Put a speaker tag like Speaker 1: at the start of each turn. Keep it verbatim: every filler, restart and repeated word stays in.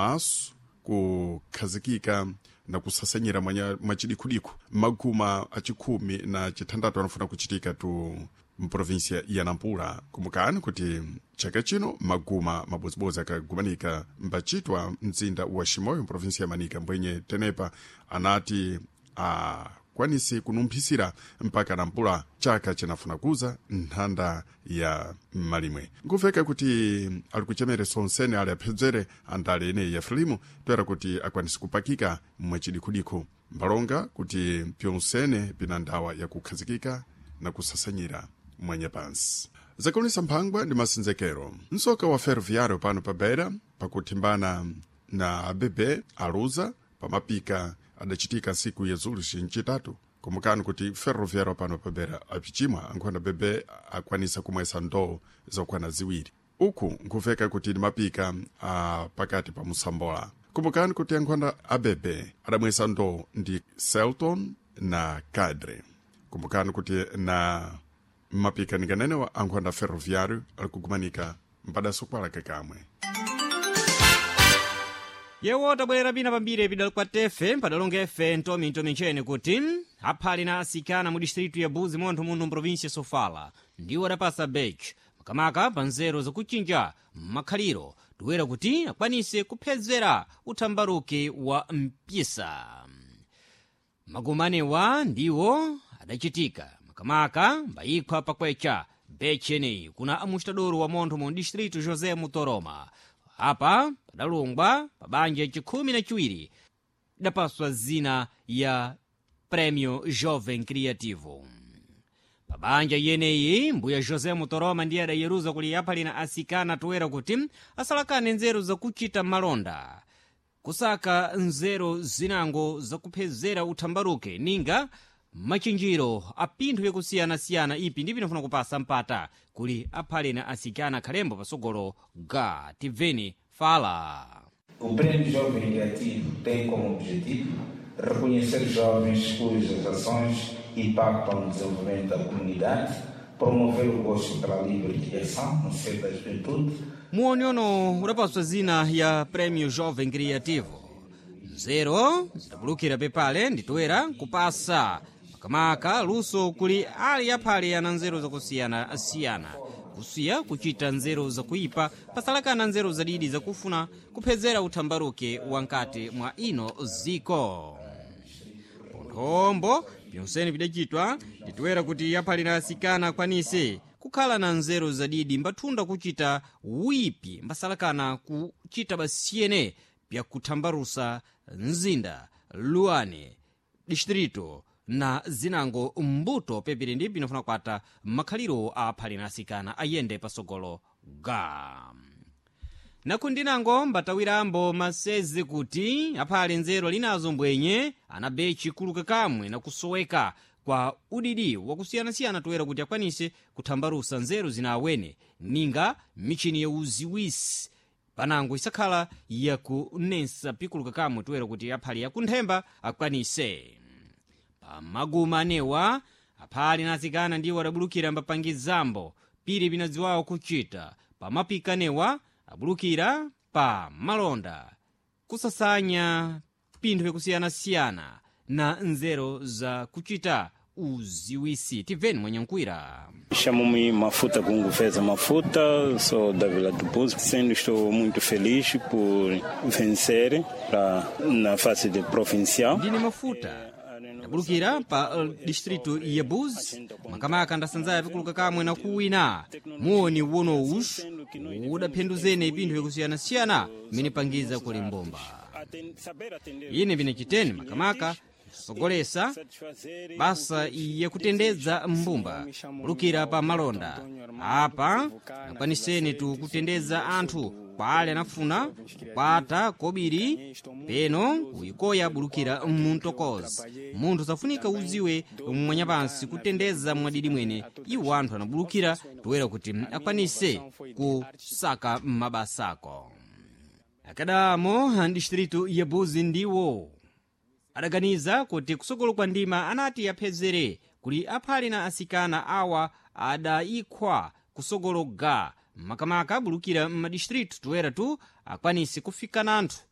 Speaker 1: Maso kukhazikika na kusasanyira mwachidikhudiku maguma achikhumi na chithandatu anafuna kuchitika tu mprovinsia ya Nampula. Kumbukani kuti chaka chino maguma mabodzibodzi akagumanika mbachitwa mzinda wa Chimoio mprovinsia ya Manika, mbwenye tenepa anati akwanise kunumphisira mpaka Nampula chaka chinafuna kuza nthanda ya malimwe. Nkuveka kuti ali kuchemere sonsene ali aphedzere andale eneyi ya Frelimo toera kuti akwanise kupakika mwachidikhudikhu mbalonga kuti pyonsene pina ndawa yakukhazikika na kusasanyira mwanyapansi. Zakulisa mphangwa ndi masenzekero. Msoka wa ferroviário pano pa Beira pakuthimbana na A B B aluza pamapika adachitika nsiku ya zulu ncitatu. Kumbukani kuti ferroviário pano pa Beira apichimwa ankhona B B akwanisa kumwesa ndoo zokwana ziwiri. Uku nkuveka kuti ndi mapika a pakati pa musambola. Kumbukani kuti ankhona A B B adamwesa ndoo ndi Celton na Cadre. Kumbukani kuti na mapika ninganenewa ankhonda ferroviário ali kugumanika mpadaso kwalaka kamwe.
Speaker 2: Yewo tabwerera pina pambiri pidali kwa tefe padalonga efe ntomi ntomi nchene kuti aphali na asikana mu distritu ya Buzi montho muno mprovinsia Sofala ndiwo adapasa bech makamaka pa nzeru zakuchinja makhaliro toera kuti akwanise kuphedzera uthambaruki wa mpisa. Magumanewa ndiwo adachitika makamaka mbayikhwa pakwecha bechi eneyi kuna amustadoro wa montho mu distritu José Mutoroma. Apa padalungwa pa banja chikhumi na chiwiri idapaswa zina ya Prêmio Jovem Criativo. Pa banja yeneyi mbuya José Mutoroma ndiye adayeruza kuli aphali na asikana toera kuti asalakane nzeru zakuchita malonda, kusaka nzeru zinango zakuphezera uthambaruke ninga machinjiro a pinthu yakusiyanasiyana ipi ndi pinafuna kupasa mpata kuli aphale na asikana khalembo pasogolo ga tibveni fala.
Speaker 3: O Prêmio Jovem Criativo tem como objetivo reconhecer jovens cujas ações impactam no desenvolvimento da comunidade, promover o gosto pela livre criação no seio da juventude.
Speaker 2: Muonyono udapaswa zina ya Prêmio Jovem Criativo. Nzeru zidabulukira pepale nditoera kupasa makamaka luso kuli ali aphale ana nzeru zakusiyanasiyana, kusiya kuchita nzeru zakuipa pasalakana nzeru zadidi zakufuna kuphedzera uthambaruke wankati mwa ino ziko. Ponthombo pyonsene pidachitwa nditoera kuti aphale na asikana akwanise kukhala na nzeru zadidi mbathunda kuchita wipi mbasalakana kuchita basiyene pyakuthambarusa mzinda luane distrito na zinango mbuto pepiri ndi pinofuna kukwata makhaliro a aphale na asikana ayende pasogolo ga. Nakundinango mbatawirambo masezi kuti aphale nzeru alinazo mbwenye anabe chikuluka kamwe na kusoweka kwa udidi wakusiyanasiyana toera kuti akwanise kuthambarusa nzeru zina awene ninga michini ya uziwisi panango isakhala yakunensa pikuluka kamwe toera kuti aphale yakunthemba akwanise. Pamaguma anewa aphale na asikana ndiwo adabulukira mbapangizambo piri pinadziwawo kuchita pamapika anewa abulukira pa malonda kusasanya pinthu yakusiyanasiyana na nzeru za kuchita uziwisi. Tibveni mwanyankwira.
Speaker 4: Chamo-me Mafuta Gungo Feza Mafuta, sou da Vila do Buzo. Sendo estou muito feliz por vencer pra, na fase de provincial.
Speaker 2: Ndine Mafuta ndabulukira pa uh, distritu ya Buzi makamaka ndasanzaya pikuluka kamwe na kuwina muoni wonowus udaphenduzene pinthu yakusiyanasiyana mmene pangiza kuli mbomba. Ine pinachiteni makamaka sogolesa basa yakutendedza mbumba kulukira pa malonda. Apa akwaniseni tu kutendedza anthu kwa ale anafuna kukwata kobiri peno kuyikoya bulukira muntokozi. Munthu safunika uziwe mwanyapansi kutendeza mwadidi mwene iwo anthu anabulukira toera kuti akwanise kusaka mabasako. Akadamo a distritu ya Buzi ndiwo adaganiza kuti kusogolo kwa ndima anati aphezere kuli aphale na asikana awa adayikhwa kusogolo ga makamaka abulukira m'madistritu toera tu Akwanise kufika na anthu.